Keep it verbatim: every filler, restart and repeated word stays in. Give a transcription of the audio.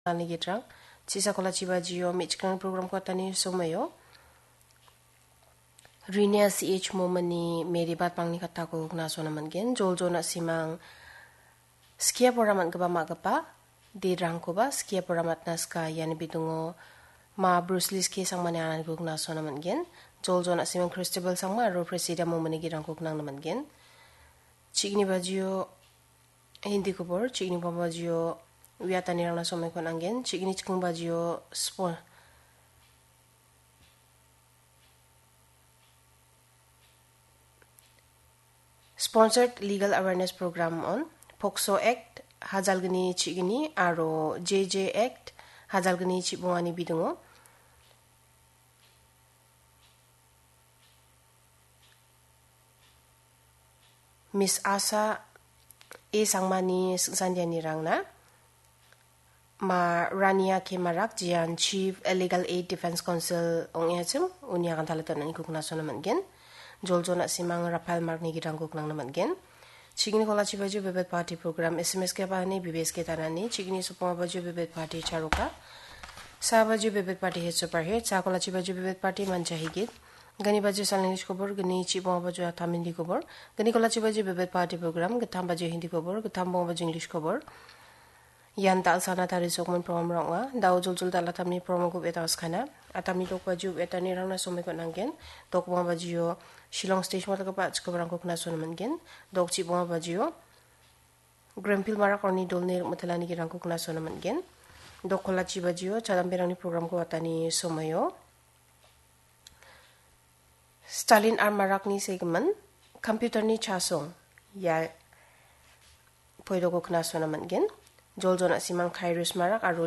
Ani gitrang, chisa kolachi bajio, me·chikrang program kotani somayo. Rinia C H Momani Mary Bat Pangni katako gnasona man·gen, Joljona Simang, skia pora man·gipa ma·gipa, dirangkoba skia pora matna ska, iani bidingo ma Bruce Lee skie sangmani ananiko gnasona man·gen, Joljona Simang Christabel Sangma aro Presida Momani girangko gnangna man·gen. Chigni bajio, Hindi kobor, chigni bajio, uiatanirangna somaiko nanggen, chigni chikung bajio, spo-, Sponsored Legal Awareness Program on POCSO Act hajalgni chigni aro J J Act hajalgni chibongani bidingo Miss Asa A Sangmani singsandianirangna ma Rania K Marak, jian Chief Legal Aid Defense Counsel ong·achim, uni agan talitan ani kukna sona man·gen. Joljona Simang Rafael Markni girangko gnangna man·gen. Chigni kolachi baju Bebet Party Program, S M S ke bahani, B B S ke tanani, chigni sopong baju Bebet Party Charoka, sa baju Bebet Party Hit Super Hit, sa kolachi baju Bebet Party Manja Higit, gani baju San English kobor, gani chibong baju Atam Hindi kobor, gani kolachi baju Bebet Party Program, gittam baju Hindi kobor, gittam bong baju English kobor, Ian tal sana tari sokmon program rong·a. Dao joljol dal·atamni program-ko beta skana. Atamni dok baju beta nirangna somoi kon nanggen. Dok bonga bajio Shillong stage mot ka pa chiko barangko kna sona manggen. Dok chi bonga bajio Greenfield marak roni dolni rik matelani girangko kna sona manggen. Dok kolachi bajio chadamberangni program-ko watani somoio. Stalin ar marakni segimin, computer-ni chasong, ia poidoko kna sona man·gen. Joljona Simang Khairus Marak aro